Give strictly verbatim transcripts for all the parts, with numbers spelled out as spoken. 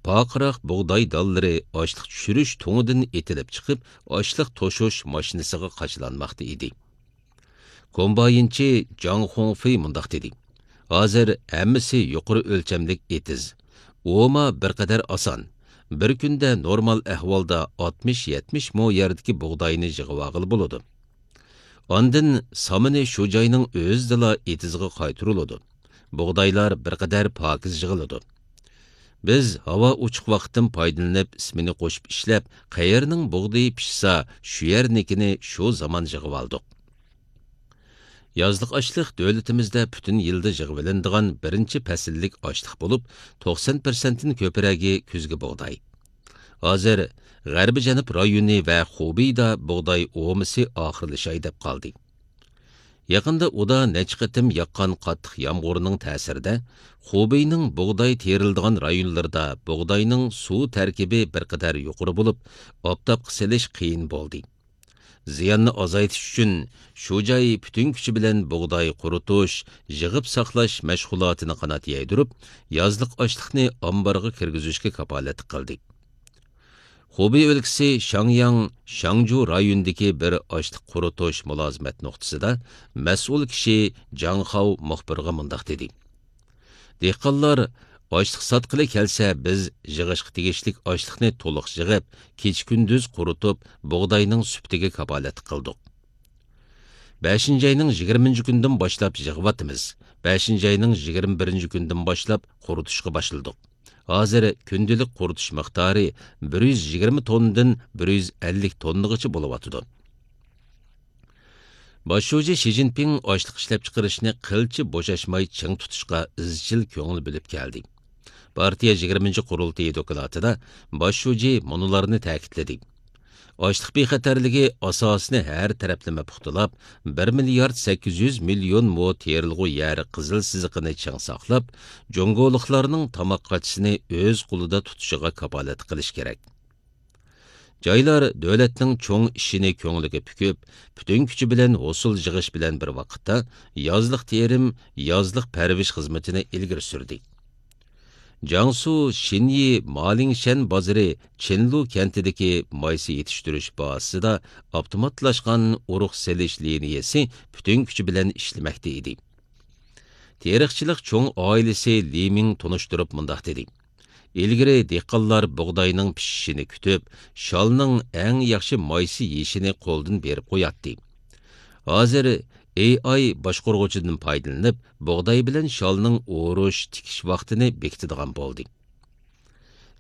پارقىراق بۇغداي دانلىرى ئاشلىق چۈشۈرۈش تۇڭىدىن ئېتىلىپ چىقىپ، ئاشلىق توشۇش ماشىنىسىغا قاچىلانماقتا ئىدى. كومباينچى جاڭ خۇڭفېي مۇنداق دېدى: «ھازىر ھەممىسى يۇقىرى ئۆلچەملىك ئېتىز. ئوما بىر قەدەر ئاسان. بىر كۈندە نورمال ئەھۋالدا ئاتمىش يەتمىش مو يەردىكى بۇغداينى يىغىۋالغىلى بولىدۇ. ئاندىن سامىنى شۇ جاينىڭ ئۆزىدىلا ئېتىزغا قايتۇرۇلىدۇ. بۇغدايلار بىر قەدەر پاكىز يىغىلىدۇ. بىز ھاۋا ئوچۇق ۋاقىتتىن پايدىلىنىپ، ئىسمىنى قوشۇپ ئىشلەپ، قەيەرنىڭ بۇغدىيى پىشسا، شۇ يەرنىكىنى شۇ زامان يىغىۋالدۇق.» يازلىق ئاشلىق دۆلىتىمىزدە پۈتۈن يىلدا يىغىۋېلىنىدىغان بىرىنچى پەسىللىك ئاشلىق بولۇپ، توقسان پىرسەنتتىن كۆپرەكى كۈزگى بۇغداي. ھازىر غەربىي جەنۇب رايونى ۋە خۇبېيدا بۇغداي ئومىسى ئاخىرلىشاي دەپ قالدى. يېقىندا ئۇدا نەچچە قېتىم ياغقان قاتتىق يامغۇرنىڭ تەسىرىدە، خۇبېينىڭ بۇغداي تېرىلىدىغان رايونلىرىدا بۇغداينىڭ سۇ تەركىبى بىر قەدەر يۇقىرى بولۇپ، ئاپتاپقا سېلىش قىيىن بولدى. زىياننى ئازايتىش ئۈچۈن، شۇ جاي پۈتۈن كۈچى بىلەن بۇغداي قۇرۇتۇش، يىغىپ ساقلاش مەشغۇلاتىنى قانات يايدۇرۇپ، يازلىق ئاشلىقنى ئامبارغا كىرگۈزۈشكە كاپالەتلىك قىلدى. خۇبېي ئۆلكىسى شاڭياڭ، شاڭجۇ رايونىدىكى بىر ئاشلىق قۇرۇتۇش مۇلازىمەت نۇقتىسىدا مەسئۇل كىشى جاڭ خاۋ مۇخبىرغا مۇنداق دېدى: «دېھقانلار ئاشلىق ساتقىلى كەلسە، بىز يىغىشقا تېگىشلىك ئاشلىقنى تولۇق يىغىپ، كېچە-كۈندۈز قۇرۇتۇپ، بۇغداينىڭ سۈپىتىگە كاپالەتلىك قىلدۇق. بەشىنچى ئاينىڭ يىگىرمىنچى كۈنىدىن باشلاپ يىغىۋاتىمىز. بەشىنچى ئاينىڭ يىگىرمە بىرىنچى كۈنىدىن باشلاپ قۇرۇتۇشقا باشلىدۇق. ھازىر كۈندىلىك قۇرۇتۇش مىقدارى بىر يۈز يىگىرمە توننىدىن بىر يۈز ئەللىك توننىغىچە بولۇۋاتىدۇ.» باش شۇجى شى جىنپىڭ ئاشلىق ئىشلەپچىقىرىشنى قىلچە بوشاشماي چىڭ تۇتۇشقا ئىزچىل كۆڭۈل بۆلۈپ كەلدى. پارتىيە يىگىرمىنچى قۇرۇلتىيى دوكلاتىدا باش شۇجى مۇنۇلارنى تەكىتلىدى: «ئاشلىق بىخەتەرلىكى ئاساسىنى ھەر تەرەپلىمە پۇختىلاپ، بىر مىليارد سەككىز يۈز مىليون مو تېرىلغۇ يەر قىزىل سىزىقىنى چىڭ ساقلاپ، جۇڭگولۇقلارنىڭ تاماق قاچىسىنى ئۆز قولىدا تۇتۇشىغا كاپالەتلىك قىلىش كېرەك. جايلار دۆلەتنىڭ چوڭ ئىشىنى كۆڭلىگە پۈكۈپ، پۈتۈن كۈچى بىلەن ھوسۇل يىغىش بىلەن بىر ۋاقىتتا يازلىق تېرىم، يازلىق پەرۋىش خىزمىتىنى ئىلگىرى سۈردى.» جياڭسۇ شىنيى مالىڭشەن بازىرى چىنلۇ كەنتىدىكى مايسا يېتىشتۈرۈش بازىسىدا ئاپتوماتلاشقان ئۇرۇق سېلىش لىنىيەسى پۈتۈن كۈچى بىلەن ئىشلىمەكتە ئىدى. تېرىقچىلىق چوڭ ئائىلىسى لى مىڭ تونۇشتۇرۇپ مۇنداق دېدى: «ئىلگىرى دېھقانلار بۇغداينىڭ پىشىشىنى كۈتۈپ، شالنىڭ ئەڭ ياخشى مايسا يېيىشىنى قولدىن بېرىپ قوياتتى. ھازىر ئېي ئاي باشقۇرغۇچىدىن پايدىلىنىپ، بۇغداي بىلەن شالنىڭ ئورۇش، تىكىش ۋاقتىنى بېكىتىدىغان بولدى.»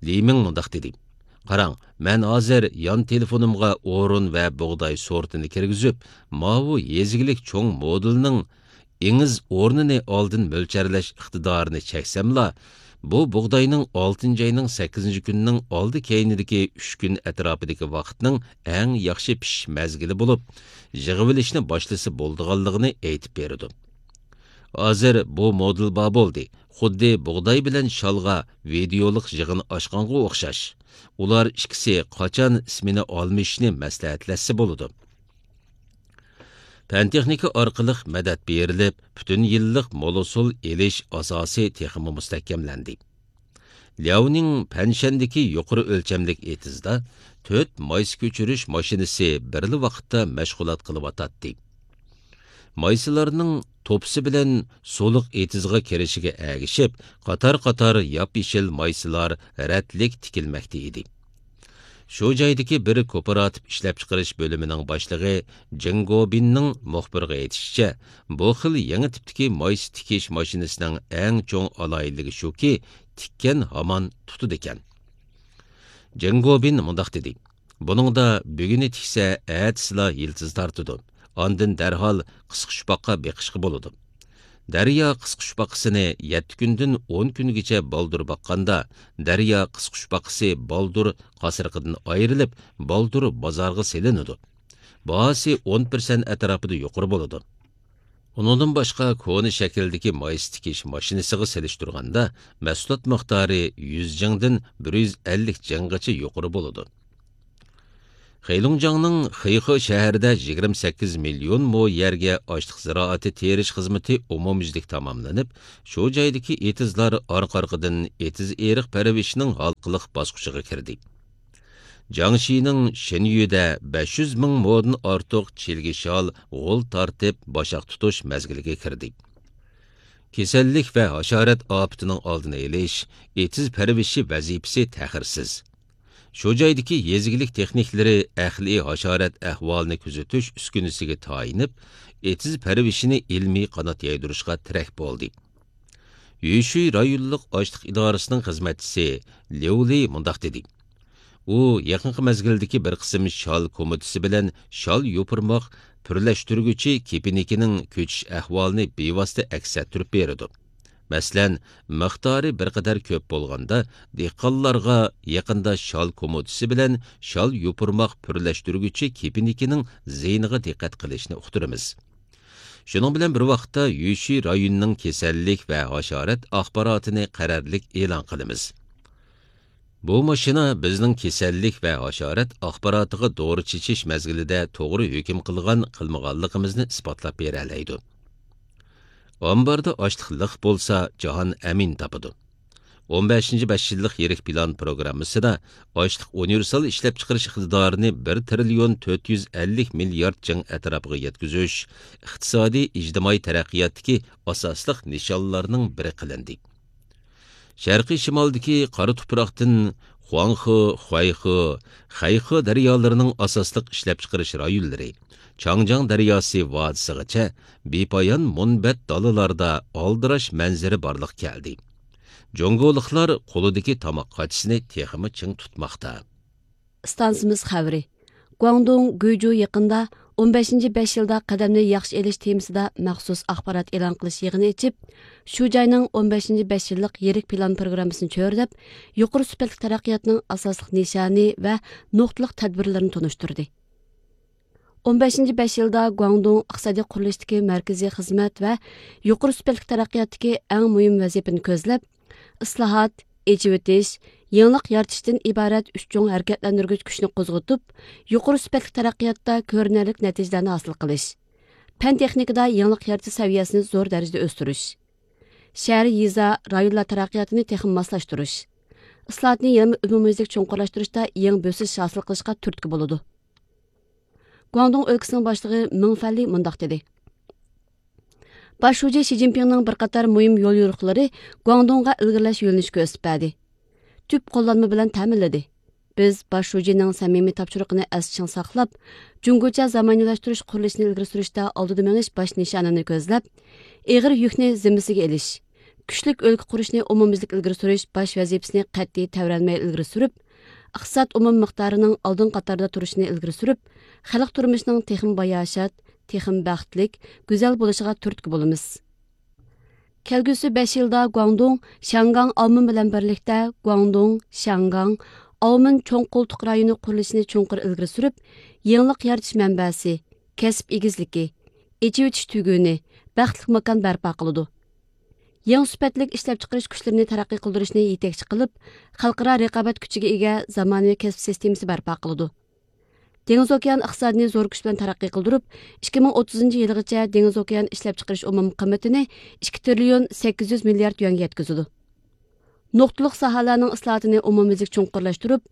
لى مىڭ مۇنداق دېدى: «قاراڭ، مەن ھازىر يان تېلېفونۇمغا ئورۇن ۋە بۇغداي سورتىنى كىرگۈزۈپ، ماۋۇ يېزا ئىگىلىك چوڭ مودېلنىڭ ئېڭىز ئورنىنى ئالدىن مۆلچەرلەش ئىقتىدارىنى چەكسەملا، بۇ بۇغداينىڭ ئالتىنچى ئاينىڭ سەككىزىنچى كۈنىنىڭ ئالدى كەينىدىكى ئۈچ كۈن ئەتراپىدىكى ۋاقىتنىڭ ئەڭ ياخشى پىشىش مەزگىلى بولۇپ، يىغىۋېلىشنى باشلىسا بولىدىغانلىقىنى ئېيتىپ بېرىدۇ. ھازىر بۇ مودېل بار بولدى، خۇددى بۇغداي بىلەن شالغا ۋىدېئولۇق يىغىن ئاچقانغا ئوخشاش. ئۇلار ئىككىسى قاچان ئىسمىنى ئالمىشىشنى مەسلىھەتلەشسە بولىدۇ.» پەن-تېخنىكا ئارقىلىق مەدەت بېرىلىپ، پۈتۈن يىللىق مول ھوسۇل ئېلىش ئاساسى تېخىمۇ مۇستەھكەملەندى. لياۋنىڭ پەنشەندىكى يۇقىرى ئۆلچەملىك ئېتىزدا تۆت مايسا كۆچۈرۈش ماشىنىسى بىرلا ۋاقىتتا مەشغۇلات قىلىۋاتاتتى. مايسىلارنىڭ توپىسى بىلەن سۇلۇق ئېتىزغا كىرىشىگە ئەگىشىپ، قاتار-قاتار ياپيېشىل مايسىلار رەتلىك تىكىلمەكتە ئىدى. شۇ جايدىكى بىر كوپىراتىپ ئىشلەپچىقىرىش بۆلۈمىنىڭ باشلىقى جېڭ گوبىننىڭ مۇخبىرغا ئېيتىشىچە، بۇ خىل يېڭى تىپتىكى مايسا تىكىش ماشىنىسىنىڭ ئەڭ چوڭ ئالاھىدىلىكى شۇكى، تىككەن ھامان تۇتىدىكەن. جېڭ گوبىن مۇنداق دېدى: «بۇنىڭدا بۈگۈنى تىكسە، ئەتىسىلا يىلتىز تارتىدۇ. ئاندىن دەرھال قىسقۇچپاققا بېقىشقا بولىدۇ. دەريا قىسقۇچپاقىسىنى يەتتە كۈندىن ئون كۈنگىچە بالدۇر باققاندا، دەريا قىسقۇچپاقىسى بالدۇر قاسرىقىدىن ئايرىلىپ، بالدۇر بازارغا سېلىنىدۇ. باھاسى ئون پىرسەنت ئەتراپىدا يۇقىرى بولىدۇ. ئۇنىڭدىن باشقا، كونا شەكىلدىكى مايسا تىكىش ماشىنىسىغا سېلىشتۇرغاندا، مەھسۇلات مىقدارى يۈز جىڭدىن بىر يۈز ئەللىك جىڭغىچە يۇقىرى بولىدۇ.» خېلۇڭجياڭنىڭ خېيخې شەھىرىدە يىگىرمە سەككىز مىليون مو يەرگە ئاشلىق زىرائىتى تېرىش خىزمىتى ئومۇميۈزلۈك تاماملىنىپ، شۇ جايدىكى ئېتىزلار ئارقا-ئارقىدىن ئېتىز ئېرىق پەرۋىشىنىڭ ھالقىلىق باسقۇچىغا كىردى. جياڭشىنىڭ شېنيۈدە بەش يۈز مىڭ مودىن ئارتۇق چىلگە شال غول تارتىپ باشاق تۇتۇش مەزگىلىگە كىردى. كېسەللىك ۋە ھاشارات ئاپىتىنىڭ ئالدىنى ئېلىش، ئېتىز پەرۋىشى ۋەزىپىسى تەخىرسىز. شۇ جايدىكى يېزا ئىگىلىك تېخنىكلىرى ئەقلىي ھاشارات ئەھۋالىنى كۆزىتىش ئۈسكۈنىسىگە تايىنىپ، ئېتىز پەرۋىشىنى ئىلمىي قانات يايدۇرۇشقا تىرەك بولدى. يۈشۈي رايونلۇق ئاشلىق ئىدارىسىنىڭ خىزمەتچىسى ليۇ لى مۇنداق دېدى: ئۇ يېقىنقى مەزگىلدىكى بىر قىسىم شال كومىتىسى بىلەن شال يوپۇرماق پۈرلەشتۈرگۈچى كېپىنىكىنىڭ كۆچۈش ئەھۋالىنى بىۋاسىتە ئەكس ئەتتۈرۈپ بېرىدۇ. مەسىلەن، مىقدارى بىر قەدەر كۆپ بولغاندا، دېھقانلارغا يېقىندا شال كومىتىسى بىلەن شال يوپۇرماق پۈرلەشتۈرگۈچى كېپىنىكىنىڭ زىيىنىغا دىققەت قىلىشنى ئۇقتۇرىمىز. شۇنىڭ بىلەن بىر ۋاقىتتا، يۈشۈي رايونىنىڭ كېسەللىك ۋە ھاشارات ئاخباراتىنى قەرەللىك ئېلان قىلىمىز. بۇ ماشىنا بىزنىڭ كېسەللىك ۋە ھاشارات ئاخباراتىغا دورا چېچىش مەزگىلىدە توغرا ھۆكۈم قىلغان قىلمىغانلىقىمىزنى ئىسپاتلاپ بېرەلەيدۇ. ئامباردا ئاشلىق لىق بولسا، جاھان ئەمىن تاپىدۇ. ئون بەشىنچى بەش يىللىق يىرىك پىلان پروگراممىسىدا ئاشلىق ئۇنىۋېرسال ئىشلەپچىقىرىش ئىقتىدارىنى بىر تىرىليون تۆت يۈز ئەللىك مىليارد جىڭ ئەتراپىغا يەتكۈزۈش ئىقتىسادىي، ئىجتىمائىي تەرەققىياتتىكى ئاساسلىق نىشانلارنىڭ بىرى قىلىندى. شەرقىي شىمالدىكى قارا تۇپراقتىن خۇاڭخې، خۇەيخې، خەيخې دەريالىرىنىڭ ئاساسلىق ئىشلەپچىقىرىش رايونلىرى، چاڭجياڭ دەرياسى ۋادىسىغىچە بىپايان مۇنبەت دالىلاردا ئالدىراش مەنزىرە بارلىققا كەلدى. جۇڭگولۇقلار قولىدىكى تاماق قاچىسىنى تېخىمۇ چىڭ تۇتماقتا. ئىستانسىمىز خەۋىرى. گۇاڭدۇڭ گۇيجۇ يېقىندا ئون بەشىنچى بەش يىلدا قەدەمنى ياخشى ئېلىش تېمىسىدا مەخسۇس ئاخبارات ئېلان قىلىش يىغىنى ئېچىپ، شۇ جاينىڭ ئون بەشىنچى بەش يىللىق يىرىك پىلان پروگراممىسىنى چۆرىدەپ، يۇقىرى سۈپەتلىك تەرەققىياتنىڭ ئاساسلىق نىشانى ۋە نۇقتىلىق تەدبىرلىرىنى تونۇشتۇردى. ئون بەشىنچى بەش يىلدا گۇاڭدۇڭ ئىقتىسادىي قۇرۇلۇشتىكى مەركىزىي خىزمەت ۋە يۇقىرى سۈپەتلىك تەرەققىياتتىكى ئەڭ مۇھىم ۋەزىپىنى كۆزلەپ، ئىسلاھات، ئېچىۋېتىش، يېڭىلىق يارىتىشتىن ئىبارەت ئۈچ چوڭ ھەرىكەتلەندۈرگۈچ كۈچنى قوزغىتىپ، يۇقىرى سۈپەتلىك تەرەققىياتتا كۆرۈنەرلىك نەتىجىلەرنى ھاسىل قىلىش، پەن تېخنىكىدا يېڭىلىق يارىتىش سەۋىيەسىنى زور دەرىجىدە ئۆستۈرۈش، شەھەر، يېزا، رايونلار تەرەققىياتىنى تېخىمۇ ماسلاشتۇرۇش، ئىسلاھاتنى يەنىمۇ ئومۇميۈزلۈك چوڭقۇرلاشتۇرۇشتا يېڭى بۆسۈش ھاسىل قىلىشقا تۈرتكە بولىدۇ. گۇاڭدۇڭ ئۆلكىسىنىڭ باشلىقى مېڭ فەنلى مۇنداق دېدى: باش شۇجى شى جىنپىڭنىڭ بىر قاتار مۇھىم يوليورۇقلىرى گۇاڭدۇڭغا ئىلگىرىلەش يۆنىلىشى كۆرسىتىپ بەردى. تۈپ قوللانما بىلەن تەمىنلىدى. بىز باش شۇجىنىڭ سەمىمىي تاپشۇرۇقىنى ئەستە چىڭ ساقلاپ، جۇڭگوچە زامانىۋىلاشتۇرۇش قۇرۇلۇشىنى ئىلگىرى سۈرۈشتە ئالدىدا مېڭىش باش نىشانىنى كۆزلەپ، ئېغىر يۈكنى زىممىسىگە ئېلىش، كۈچلۈك ئۆلكە قۇرۇشنى ئومۇميۈزلۈك ئىلگىرى سۈرۈش باش ۋەزىپىسىنى قەتئىي تەۋرەنمەي ئىلگىرى سۈرۈپ، ئىقتىساد ئومۇمىي مىقدارىنىڭ ئالدىنقى قاتاردا تۇرۇشىنى ئىلگىرى سۈرۈپ، خەلق تۇرمۇشىنىڭ تېخىمۇ باياشات، تېخىمۇ بەختلىك، گۈزەل بولۇشىغا تۈرتكە بولىمىز. كەلگۈسى بەش يىلدا گۇاڭدۇڭ شياڭگاڭ ئاۋمېن بىلەن بىرلىكتە گۇاڭدۇڭ شياڭگاڭ ئاۋمېن چوڭ قولتۇق رايونى قۇرۇلۇشىنى چوڭقۇر ئىلگىرى سۈرۈپ، يېڭىلىق يارىتىش مەنبەسى، كەسىپ ئېگىزلىكى، ئېچىۋېتىش تۈگۈنى، بەختلىك ماكان بەرپا قىلىدۇ. يېڭى سۈپەتلىك ئىشلەپچىقىرىش كۈچلىرىنى تەرەققىي قىلدۇرۇشنى يېتەكچى قىلىپ، خەلقئارا رىقابەت كۈچىگە ئىگە زامانىۋى كەسىپ سىستېمىسى بەرپا قىلىدۇ. دېڭىز ئوكيان ئىقتىسادىنى زور كۈچ بىلەن تەرەققىي قىلدۇرۇپ، ئىككى مىڭ ئوتتۇزىنچى يىلىغىچە دېڭىز ئوكيان ئىشلەپچىقىرىش ئومۇمىي قىممىتىنى ئىككى تىرىليون سەككىز يۈز مىليارد يۈەنگە يەتكۈزىدۇ. نۇقتىلىق ساھەلەرنىڭ ئىسلاھاتىنى ئومۇميۈزلۈك چوڭقۇرلاشتۇرۇپ،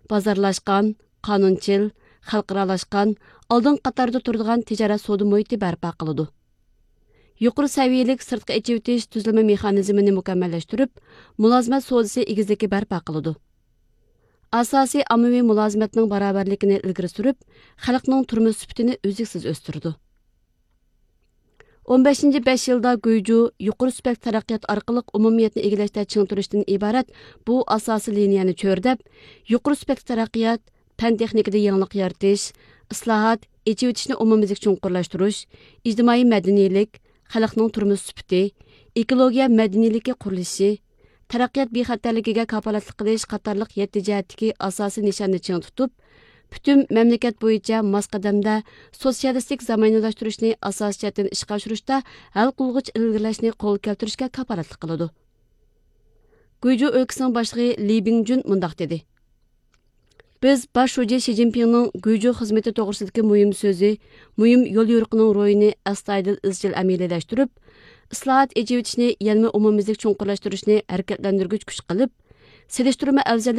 بازارلاشقان، قانۇنچىل، خەلقئارالاشقان، ئالدىنقى قاتاردا تۇرىدىغان تىجارەت سودا مۇھىتى بەرپا قىلىدۇ. يۇقىرى سەۋىيەلىك سىرتقا ئېچىۋېتىش تۈزۈلمە مېخانىزمىنى مۇكەممەللەشتۈرۈپ، مۇلازىمەت سودىسى ئېگىزلىكى بەرپا قىلىدۇ. ئاساسىي ئاممىۋى مۇلازىمەتنىڭ باراۋەرلىكىنى ئىلگىرى سۈرۈپ، خەلقنىڭ تۇرمۇش سۈپىتىنى ئۈزلۈكسىز ئۆستۈرىدۇ. ئون بەشىنچى بەش يىلدا گۇيجۇ يۇقىرى سۈپەتلىك تەرەققىيات ئارقىلىق ئومۇمىيەتنى ئىگىلەشتە چىڭ تۇرۇشتىن ئىبارەت بۇ ئاساسىي لىنىيەنى چۆرىدەپ، يۇقىرى سۈپەتلىك تەرەققىيات، پەن تېخنىكىدا يېڭىلىق يارىتىش، ئىسلاھات، ئېچىۋېتىشنى ئومۇميۈزلۈك چوڭقۇرلاشتۇرۇش، ئىجتىمائىي مەدەنىيلىك، خەلقنىڭ تۇرمۇش سۈپىتى، ئېكولوگىيە مەدەنىيلىكى قۇرۇلۇشى، تەرەققىيات بىخەتەرلىكىگە كاپالەتلىك قىلىش قاتارلىق يەتتە جەھەتتىكى ئاساسىي نىشاننى چىڭ تۇتۇپ، پۈتۈن مەملىكەت بويىچە ماس قەدەمدە سوتسىيالىستىك زامانىۋىلاشتۇرۇشنى ئاساسىي جەھەتتىن ئىشقا ئاشۇرۇشتا ھەل قىلغۇچ ئىلگىرىلەشنى قولغا كەلتۈرۈشكە كاپالەتلىك قىلىدۇ. گۇيجۇ ئۆلكىسىنىڭ باشلىقى لى بىڭجۈن مۇنداق دېدى: بىز باش شۇجى شى جىنپىڭنىڭ گۇيجۇ خىزمىتى توغرىسىدىكى مۇھىم سۆزى، مۇھىم يوليورۇقىنىڭ روھىنى ئەستايىدىل ئىزچىل ئەمەلىيلەشتۈرۈپ، ئىسلاھات، ئېچىۋېتىشنى يەنىمۇ ئومۇميۈزلۈك چوڭقۇرلاشتۇرۇشنى ھەرىكەتلەندۈرگۈچ كۈچ قىلىپ، سېلىشتۇرما ئەۋزەللىك